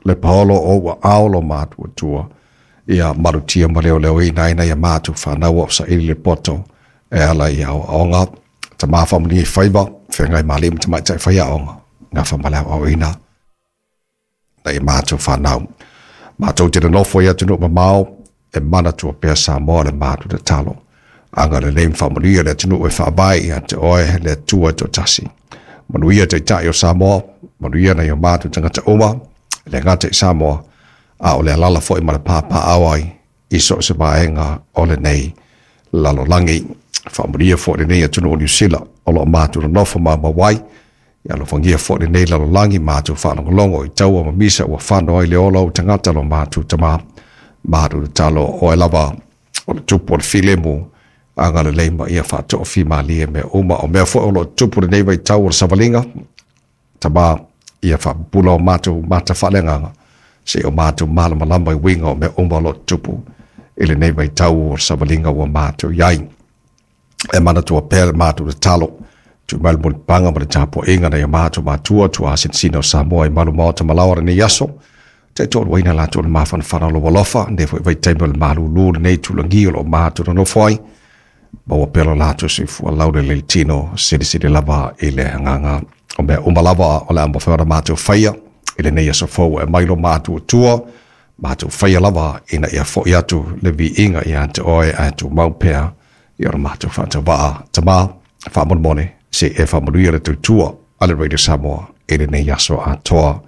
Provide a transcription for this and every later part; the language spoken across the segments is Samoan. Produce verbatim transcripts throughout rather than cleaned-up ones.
Le paolo o ua ao lo matou Atua ia malutia ma leoleoina ai nai a matou fanau o saili le poto e ala i aoaoga. Tama faamanuia i faiva, feagai ma alii ma tamaitai faiaoga, gafa ma le aoaoina nai a matou fanau. Matou te nonofo i atunuu mamao, e manatua pea Samoa le matou tatalo. Agalelei ma faamanuia le atunuu e faavae ia te oe le Atua e toatasi. Manuia Taitai o Samoa, manuia nai o matou tagata uma, e le gata i Samoa, a o le alaala foi ma le papaaao ai i so o se vaega o lenei lalolagi. Faamanuia foi lenei atunuu o Niu Sila o lo o matou nonofo maumau ai, ia alofagia foi lenei lalolagi matou faalogologo i taua ma misa ua fano ai le ola o tagata lo matou Tama. Matou tatalo oe lava o le tupu o le filemu, agalelei ma ia faatoofimalie mea uma o mea foi o lo o tupu lenei vaitau o le savaliga. Tama, ia faapupula o matou mata faaleagaga seia o matou malamalama i uiga o mea uma o lo o tupu i lenei vaitau o le savaliga ua matou i ai. E manatua pea le matou tatalo, tuu mai le mulipapaga ma le tapuaiga nai o matou matua tuasinasina o Samoa i malu maota ma laoa lenei aso, taitoaluaina latou i le mafanafana o lou alofa, lenei foi vaitaimi o le malūlū lenei tulagi o lo o matou nonofo ai, maua pea lo latou soifua laulelei tino, silisili lava i le agaga o mea uma lava o le a mafai ona matou faia i lenei aso fou e aumai lo matou Atua, matou faia lava ina ia foi atu le viiga ia te oe ae tumau pea i o matou faatauvaa. Tama, faamolemole se i e faamanuia le tautua a le Radio Samoa i lenei aso atoa.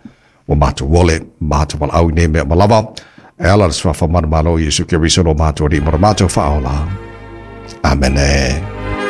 Ua matou ole, matou valaau i nei mea uma lava, e ala i le suafa manumalo o Iesu Keriso lo matou Alii ma lo matou Faaola. Amene.